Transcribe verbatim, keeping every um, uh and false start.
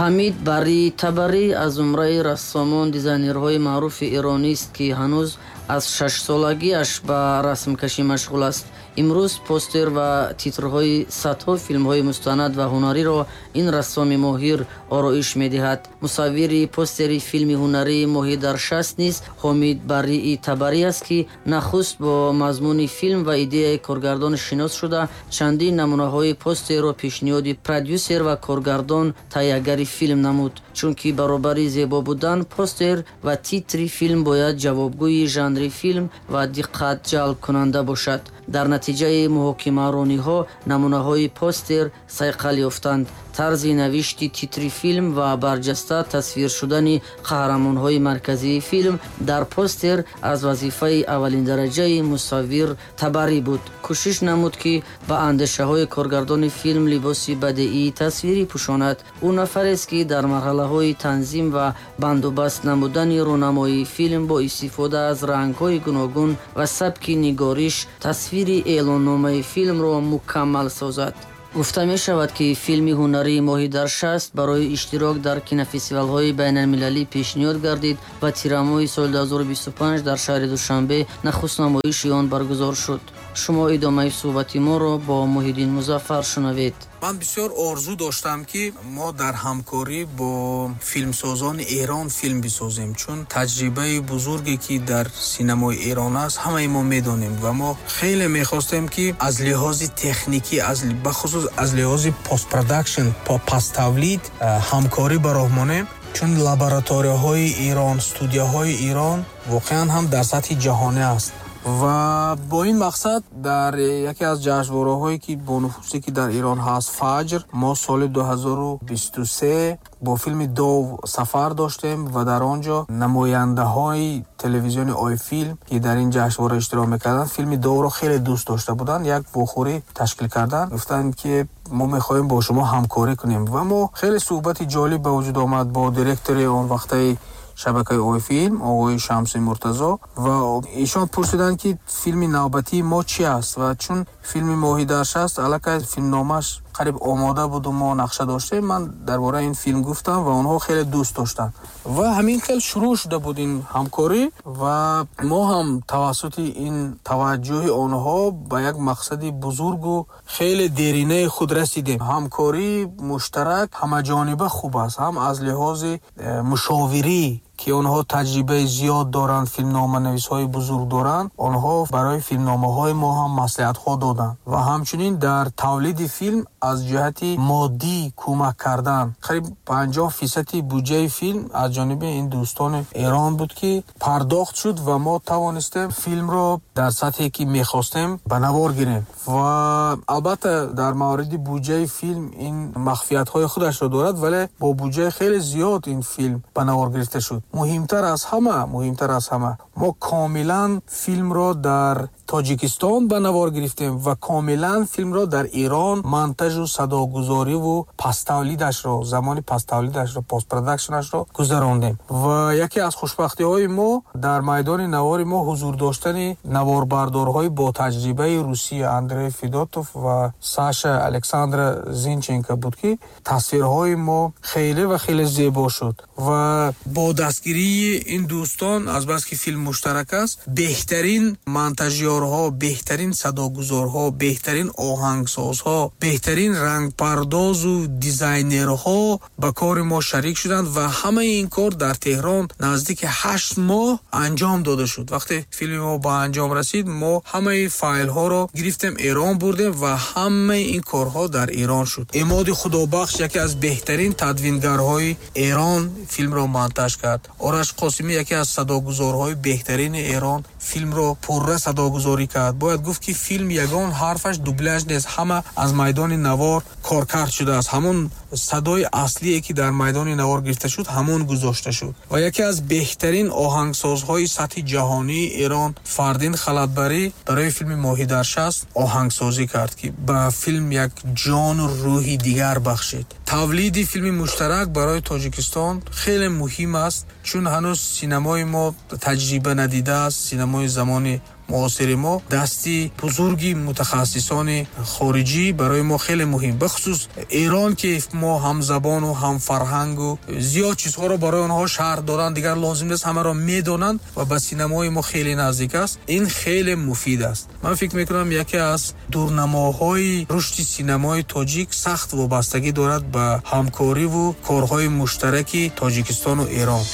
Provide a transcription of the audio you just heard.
Ҳамид Барри Табарӣ аз зумраи рассомон дизайнерҳои маъруфи эронист, ки ҳанӯз аз шашсолагиаш ба расмкашӣ машғул аст. Имрӯз постер ва титрҳои садҳо филмҳои мустанад ва ҳунариро ин рассоми моҳир ороиш медиҳад. Мусаввири постери филми ҳунарии «Моҳӣ дар шаст» низ Ҳомид Баррии Табарӣ аст, ки нахуст бо мазмуни филм ва идеяи коргардон шинос шуда, чандин намунаҳои постерро пешниҳоди продюсер ва коргардон таҳиягари филм намуд. Чунки баробари зебо будан, постер ва титри филм бояд ҷавобгӯи жанри филм ва диққат ҷалбкунанда бошад. Дар натиҷаи муҳокимарониҳо намунаҳои постер сайқал ёфтанд. Тарзи навишти титри филм ва барҷаста тасвир шудани қаҳрамонҳои марказии филм дар постер аз вазифаи аввалиндараҷаи мусаввир Табарӣ буд. Кӯшиш намуд, ки ба андешаҳои коргардони филм либоси бадеии тасвирӣ пӯшонад. Ӯ нафарест, ки дар марҳалаҳои танзим ва бандубаст намудани рӯнамоии филм бо истифода аз рангҳои гуногун ва сабки нигориш тасвири эълонномаи филмро мукаммал созад. Гуфта мешавад, ки филми ҳунарии «Моҳӣ дар шаст» барои иштирок дар кинофестивалҳои байналмилалӣ пешниҳод гардид ва тирамоҳи соли ду ҳазору бисту панҷ дар шаҳри Душанбе нахуст намоиши он баргузор шуд. Шумо идомаи суҳбати моро бо Муҳиддин Музаффар шунавед. Ман бисёр орзу доштам, ки мо дар ҳамкорӣ бо филмсозони Эрон филм бисозем, чун таҷрибаи бузурге, ки дар синамои Эрон аст, ҳамаи мо медонем ва мо хеле мехостем, ки аз лиҳози техникӣ, бахусус аз лиҳози постпродакшн, паставлид ҳамкорӣ ба роҳ монем, чун лабораторияҳои Эрон, студияҳои Эрон воқеан ҳам дар сатҳи ҷаҳонӣ аст. Ва бо ин мақсад дар яке аз ҷашнвораҳое, ки бонуфузе, ки дар Эрон ҳаст, Фаҷр, мо соли ду ҳазору бисту се бо филми «Дов» сафар доштем ва дар он ҷо намояндаҳои телевизиони Ойфилм, ки дар ин ҷашнвора иштирок мекарданд, филми «Довро» хеле дӯст дошта буданд, як вохӯрӣ ташкил карданд, гуфтанд, ки мо мехоҳем бо шумо ҳамкорӣ кунем. Ва мо хеле суҳбати ҷолиб ба вуҷуд омад бо директори он вақтаи шабакаи Ойфилм, оғои Шамси Муртазо, ва эшон пурсиданд, ки филми навбатии мо чӣ аст. Ва чун филми «Моҳӣ дар шаст» аллакай филмномааш қариб омода буду мо нақша доштем, ман дар бораи ин филм гуфтам ва онҳо хеле дӯст доштанд ва ҳамин хел шурӯъ шуда буд ин ҳамкорӣ. Ва мо ҳам тавассути ин таваҷҷӯҳи онҳо ба як мақсади бузургу хеле деринаи худ расидем. Ҳамкории муштарак ҳамаҷониба хуб аст, ҳам аз лиҳози э, мушовирӣ, ки онҳо таҷрибаи зиёд доранд, филмноманависҳои бузург доранд, онҳо барои филмномаҳои мо ҳам маслиҳатҳо доданд ва ҳамчунин дар тавлиди филм аз ҷиҳати моддӣ кӯмак кардан. Қариб панҷоҳ фисади буҷаи филм аз ҷониби ин дӯстони Эрон буд, ки пардохт шуд ва мо тавонистем филмро дар сатҳе, ки мехостем, ба навор гирем. Ва албатта, дар мавриди буҷаи филм ин махфиятҳои худашро дорад, вале бо буҷаи хеле зиёд ин филм ба навор гирифта шуд. Муҳимтар аз ҳама, муҳимтар аз ҳама, мо комилан филмро дар Тоҷикистон ба навор гирифтем ва комилан филмро дар Эрон монтажу садогузориву паставлидашро, замони паставлидашро, постпродакшнашро гузарондем. Ва яке аз хушбахтиҳои мо дар майдони навори мо ҳузур доштани наворбардорҳои ботаҷрибаи Русия, Андрей Федотов ва Саша Александра Зинченко буд, ки тасвирҳои мо хеле ва хеле зебо шуд. Ва бо дастгирии ин дӯстон, азбаски филм муштарак аст, беҳтарин монтажёрҳо, беҳтарин садогузорҳо, беҳтарин оҳангсозҳо, беҳтарин рангпардозу дизайнерҳо ба кори мо шарик шуданд ва ҳамаи ин кор дар Теҳрон наздики ҳашт моҳ анҷом дода шуд. Вақте филми мо ба анҷом расид, мо ҳамаи файлҳоро гирифтем, Эрон бурдем ва ҳамаи ин корҳо дар Эрон шуд. Эмоди Худобахш, яке аз беҳтарин тадвингарҳои Эрон, филмро монтаж кард. Ораш Қосимӣ, яке аз садогузорҳои беҳтарини Эрон, филмро пурра садогузорӣ кард. Бояд гуфт, ки филм ягон ҳарфаш дубляж нест, ҳама аз майдони навор коркард шудааст. Ҳамон садои аслие, ки дар майдони навор гирифта шуд, ҳамон гузошта шуд. Ва яке аз беҳтарин оҳангсозҳои сатҳи ҷаҳонии Эрон, Фардин Халатбарӣ, барои филми «Моҳӣ дар шаст» оҳангсозӣ кард, ки ба филм як ҷону рӯҳи дигар бахшид. Тавлиди филми муштарак барои Тоҷикистон хеле муҳим аст, чун ҳанӯз синамои мо таҷриба надидааст, синамои замони муосири мо дасти бузурги мутахассисони хориҷӣ барои мо хеле муҳим, бахусус Эрон, ки мо ҳамзабону ҳамфарҳангу зиёд чизҳоро барои онҳо шарҳ додан дигар лозим нест, ҳамаро медонанд ва ба синамои мо хеле наздик аст. Ин хеле муфид аст. Ман фикр мекунам, яке аз дурнамоҳои рушди синамои тоҷик сахт вобастагӣ дорад ба ҳамкориву корҳои муштараки Тоҷикистону Эрон.